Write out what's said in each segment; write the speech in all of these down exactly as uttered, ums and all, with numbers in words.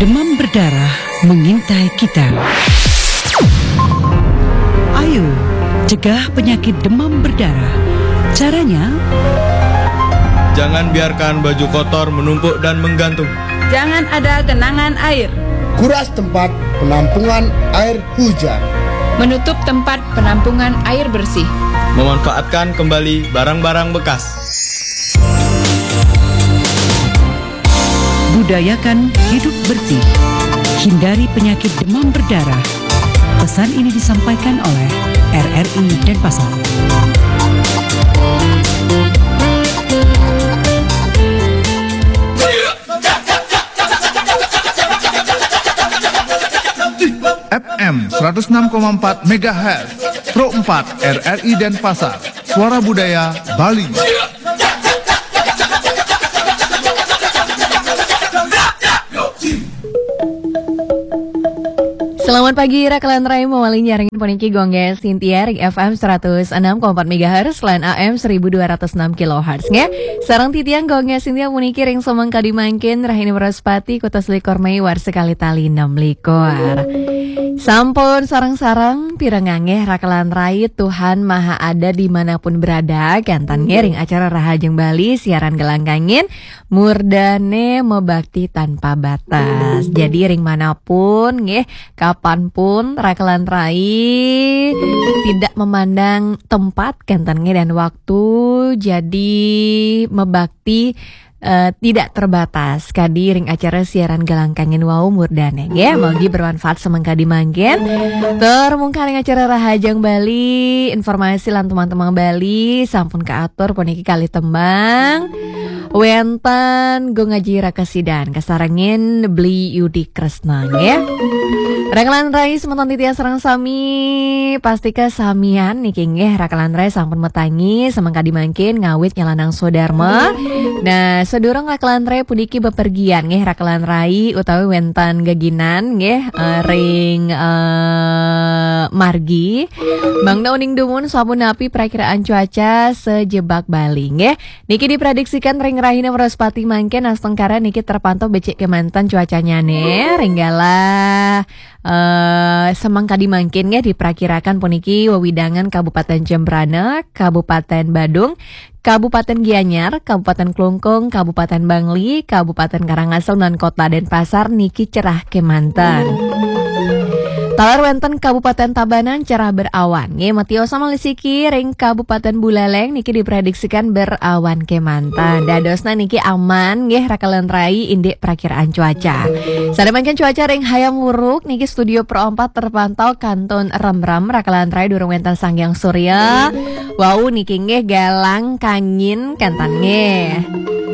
Demam berdarah mengintai kita. Ayo, cegah penyakit demam berdarah. Caranya? Jangan biarkan baju kotor menumpuk dan menggantung. Jangan ada genangan air. Kuras tempat penampungan air hujan. Menutup tempat penampungan air bersih. Memanfaatkan kembali barang-barang bekas. Budayakan hidup bersih. Hindari penyakit demam berdarah. Pesan ini disampaikan oleh R R I Denpasar. F M seratus enam koma empat megahertz, Pro empat R R I Denpasar, Suara Budaya Bali. Selamat pagi, Rakelan Rai, mawali nyarengin puniki Gongge Sintia ring F M seratus enam koma empat megahertz lan A M seribu dua ratus enam kilohertz, nggih. Sareng titiang Gongge Sintia puniki ring semeng kadi mangkin, rahina Wraspati, kutus likur Mei, warsa kalih tali enam likur. Sampun sareng-sareng pirengang, nggih, Rakelan Rai, Tuhan Maha Ada dimanapun berada, kanten, nggih, ring acara Rahajeng Bali, siaran Gelang Kangin, Murdane Mebakti Tanpa Batas. Jadi ring manapun, nggih, kapanpun, Rakelan Rai tidak memandang tempat, kanten, nggih, dan waktu, jadi mebakti eh, tidak terbatas kadi ring acara siaran Gelang Kangin wau, murdane, nggih. Mugi bermanfaat semeng kadi mangkin. Tur mungkah ring acara Rahajeng Bali, informasi lan teman-teman Bali sampun kaatur puniki kalih tembang. Wenten Gung Aji Rakasidan kasarengin Bli Yudi Kresna, nggih. Rakelan Rai semeton titiang sareng sami, pastika samian niki, nggih, Rakelan Rai sampun matangi semeng kadi mangkin ngawit nyalanang swadarma. Nah, sadurung Rakelan Rai puniki bepergian, nggih, Rakelan Rai utawi wenten geginan, nggih, eh, ring, eh, margi. Mangda uning dumun sapunapi prakiraan cuaca sajebag Bali, nggih. Niki diprediksikan ring rahina Wraspati mangkin, astungkara niki terpantau becik kemanten cuacanyane, ring galah, eh, semeng kadi mangkin, nggih, diprakirakan puniki wewidangan Kabupaten Jembrana, Kabupaten Badung, Kabupaten Gianyar, Kabupaten Klungkung, Kabupaten Bangli, Kabupaten Karangasem, lan Kota Denpasar niki cerah kemanten. Taler wenten Kabupaten Tabanan cerah berawan. Nggih, metiosa malih siki ring Kabupaten Buleleng niki diprediksikan berawan kemanten. Dadosna niki aman, nggih, Rakelan Rai indik prakiraan cuaca. Sane mangkin cuaca ring Hayam Wuruk niki studio Pro empat terpantau kantun remrem, Rakelan Rai, durung wenten Sanghyang Surya. Wau niki, nggih, galang kangin, kanten, nggih.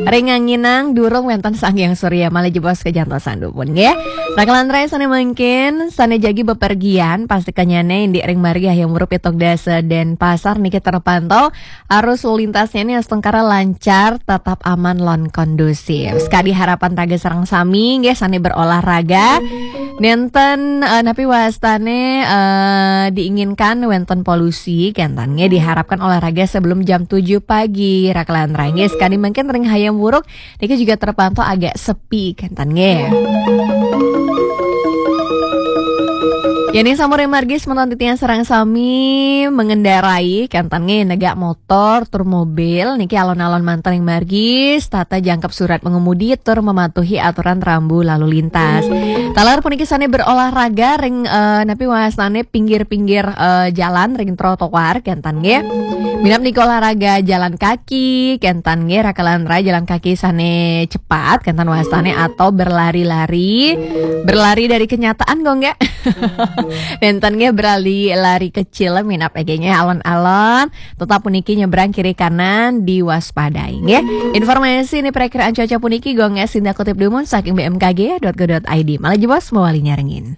Ring nganginang durung wenten Sanghyang Surya, malih jebos kajantosan dumun, nggih. Rakelan Rai sane mangkin, sane jagi bepergian, pastikanyane indik ring margi Hayam Wuruk pitung dasa Denpasar niki terpantau arus lalu lintasnya ini astungkara lancar, tetap aman lan kondusif. Sekadi harapan raga sareng sami, nggih, sane berolahraga. Nenten, eh, napi wastane, eh, diinginkan wenten polusi, kanten, nggih, diharapkan olahraga sebelum jam tujuh pagi, Rakelan Rai, nggih. Sekadi mangkin ring Hayam Wuruk niki juga terpantau agak sepi, kanten, nggih. Yen ing sampun ring margi semeton titiang sareng sami mengendarai, kanten, nggih, negak motor tur mobil niki alon-alon manten ring margi, setata jangkep surat pengemudi tur mematuhi aturan rambu lalu lintas. Taler puniki sane berolahraga ring, eh, napi wastane pinggir-pinggir, eh, jalan ring trotoar, kanten, nggih. Minab niki olahraga jalan kaki, kanten, nggih, Rakelan Rai, jalan kaki sane cepat, kanten wastane, atau berlari-lari, berlari dari kenyataan, kok nggih. Nenten, nggih, berlari, lari kecil, minab, nggih, alon-alon. Tetap puniki nyebrang kiri kanan diwaspadai, nggih. Informasi ini perakiraan cuaca puniki Gongge Sinta kutip dumun saking B M K G dot go dot I D. Malih jebos mawali nyarengin.